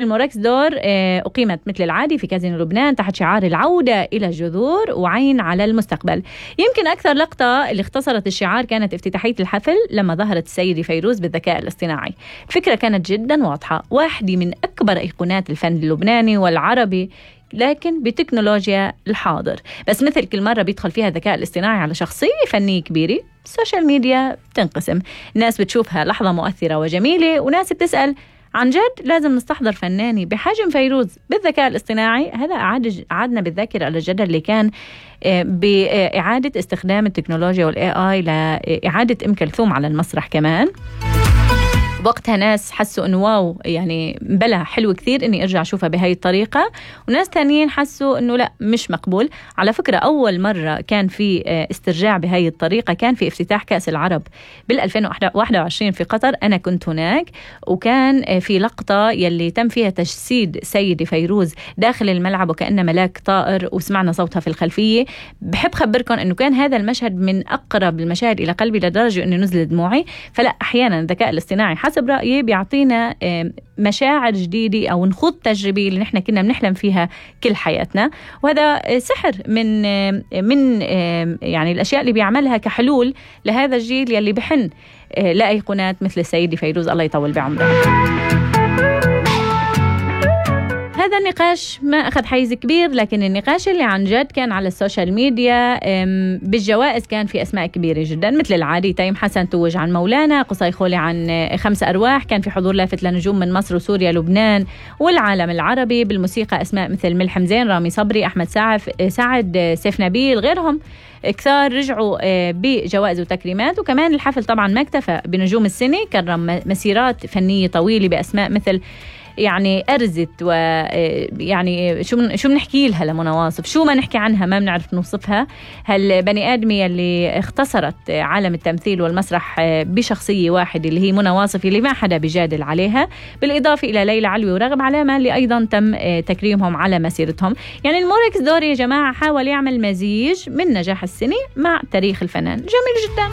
الموراكس دور أقيمت مثل العادي في كازينو لبنان تحت شعار العودة إلى الجذور وعين على المستقبل. يمكن أكثر لقطة اللي اختصرت الشعار كانت افتتاحية الحفل لما ظهرت السيدة فيروز بالذكاء الاصطناعي. الفكرة كانت جدا واضحة، واحدة من أكبر أيقونات الفن اللبناني والعربي لكن بتكنولوجيا الحاضر، بس مثل كل مرة بيدخل فيها الذكاء الاصطناعي على شخصية فنية كبيرة، السوشيال ميديا بتنقسم، الناس بتشوفها لحظة مؤثرة وجميلة وناس بتسأل عن جد لازم نستحضر فناني بحجم فيروز بالذكاء الاصطناعي. هذا أعادنا بالذاكرة على الجدل اللي كان بإعادة استخدام التكنولوجيا والAI لإعادة أم كلثوم على المسرح كمان. وقتها ناس حسوا إنه واو، يعني بلا حلو كثير إني أرجع أشوفها بهاي الطريقة، وناس تانيين حسوا إنه لا مش مقبول. على فكرة أول مرة كان في استرجاع بهاي الطريقة كان في افتتاح كأس العرب بال2021 في قطر، أنا كنت هناك، وكان في لقطة يلي تم فيها تجسيد سيدة فيروز داخل الملعب وكأنها ملاك طائر وسمعنا صوتها في الخلفية. بحب خبركم إنه كان هذا المشهد من أقرب المشاهد إلى قلبي لدرجة إنه نزل دموعي. فلا أحيانا الذكاء الاصطناعي حسب رأيي بيعطينا مشاعر جديدة أو نخوض تجربة اللي نحن كنا بنحلم فيها كل حياتنا، وهذا سحر من يعني الأشياء اللي بيعملها كحلول لهذا الجيل يلي بحن لأيقونات مثل السيدة فيروز الله يطول بعمرها. هذا النقاش ما أخذ حيز كبير، لكن النقاش اللي عن جد كان على السوشيال ميديا بالجوائز كان في أسماء كبيرة جدا مثل العادي. تيم حسن توج عن مولانا، قصي خولي عن 5 أرواح، كان في حضور لافت لنجوم من مصر وسوريا لبنان والعالم العربي. بالموسيقى أسماء مثل ملحم زين، رامي صبري، أحمد سعد، سيف نبيل، غيرهم كثار رجعوا بجوائز وتكريمات. وكمان الحفل طبعا ما اكتفى بنجوم السنة، كرم مسيرات فنية طويلة بأسماء مثل يعني أرزت، ويعني شو بنحكي لها لمنى واصف، شو ما نحكي عنها ما بنعرف نوصفها. هالبني آدمية اللي اختصرت عالم التمثيل والمسرح بشخصية واحدة اللي هي منى واصف اللي ما حدا بيجادل عليها، بالإضافة إلى ليلى علوي ورغم علامة اللي أيضا تم تكريمهم على مسيرتهم. يعني الموركس دور يا جماعة حاول يعمل مزيج من نجاح السنة مع تاريخ الفنان، جميل جدا.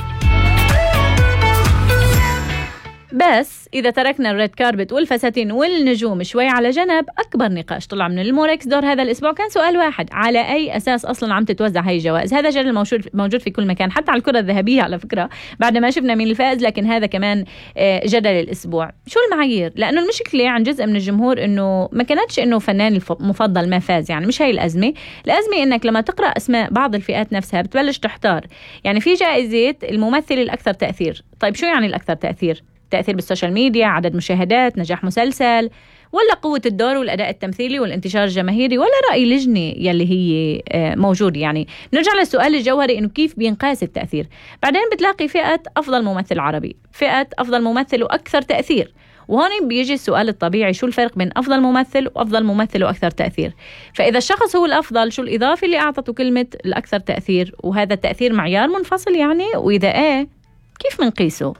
بس إذا تركنا الريد كاربت والفساتين والنجوم شوي على جنب، أكبر نقاش طلع من الموركس دور هذا الأسبوع كان سؤال واحد: على أي أساس أصلا عم تتوزع هاي الجوائز؟ هذا جدل موجود في كل مكان، حتى على الكرة الذهبية على فكرة بعد ما شفنا مين الفائز، لكن هذا كمان جدل الأسبوع. شو المعايير؟ لأنه المشكلة عن جزء من الجمهور إنه ما كانتش إنه فنان المفضل ما فاز، يعني مش هاي الأزمة إنك لما تقرأ أسماء بعض الفئات نفسها بتبلش تحتار. يعني في جائزة الممثل الأكثر تأثير، طيب شو يعني الأكثر تأثير؟ تأثير بالسوشيال ميديا، عدد مشاهدات، نجاح مسلسل، ولا قوة الدور والأداء التمثيلي والانتشار الجماهيري، ولا رأي لجنة يلي هي موجود؟ يعني نرجع للسؤال الجوهري إنه كيف بينقاس التأثير. بعدين بتلاقي فئة أفضل ممثل عربي، فئة أفضل ممثل وأكثر تأثير، وهون بيجي السؤال الطبيعي: شو الفرق بين أفضل ممثل وأفضل ممثل وأكثر تأثير؟ فإذا الشخص هو الأفضل، شو الإضافة اللي أعطته كلمة الأكثر تأثير؟ وهذا التأثير معيار منفصل يعني؟ وإذا إيه كيف منقيسه؟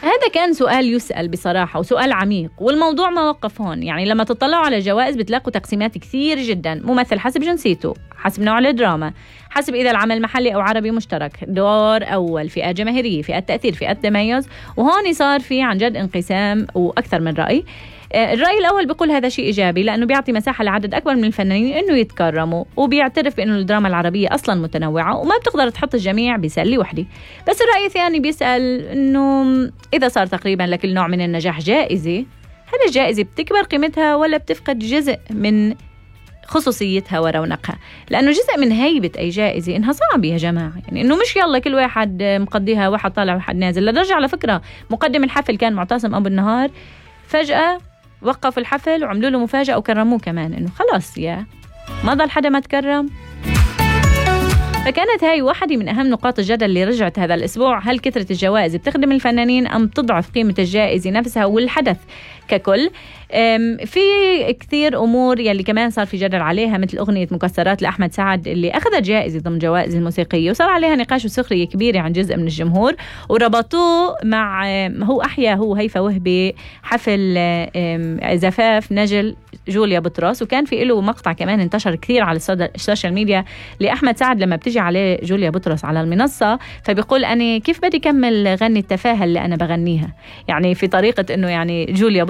هذا كان سؤال يسأل بصراحة وسؤال عميق، والموضوع ما وقف هون. يعني لما تطلعوا على جوائز بتلاقوا تقسيمات كثير جدا: ممثل حسب جنسيته، حسب نوع الدراما، حسب إذا العمل محلي أو عربي مشترك، دور أول، فئة جماهيرية، فئة تأثير، فئة تميز. وهون صار في عن جد انقسام وأكثر من رأي. الرأي الأول بيقول هذا شيء إيجابي لأنه بيعطي مساحة لعدد أكبر من الفنانين إنه يتكرموا، وبيعترف بأنه الدراما العربية أصلا متنوعة وما بتقدر تحط الجميع بسلة وحدة. بس الرأي الثاني بيسأل إنه إذا صار تقريبا لكل نوع من النجاح جائزة، هل الجائزة بتكبر قيمتها ولا بتفقد جزء من خصوصيتها ورونقها؟ لأنه جزء من هيبة أي جائزة إنها صعبة يا جماعة، يعني إنه مش يلا كل واحد مقضيها واحد طالع واحد نازل. لدرجة على فكرة مقدم الحفل كان معتصم أبو النهار، فجأة وقف الحفل وعملوا له مفاجأة وكرموه كمان، إنه خلاص يا ما ضل حدا ما تكرم. فكانت هاي واحدة من أهم نقاط الجدل اللي رجعت هذا الأسبوع: هل كثرة الجوائز بتخدم الفنانين أم تضعف قيمة الجائزة نفسها والحدث ككل؟ في كثير أمور يلي كمان صار في جدل عليها، مثل أغنية مكسرات لأحمد سعد اللي أخذت جائزة ضمن جوائز الموسيقية، وصار عليها نقاش وسخرية كبيرة عن جزء من الجمهور، وربطوه مع هو هيفا وهبي حفل زفاف نجل جوليا بطرس، وكان في له مقطع كمان انتشر كثير على السوشيال ميديا لأحمد سعد لما بتجي عليه جوليا بطرس على المنصة، فبيقول أنا كيف بدي كمل غني التفاهة اللي أنا بغنيها، يعني في طريقة إنه يعني جوليا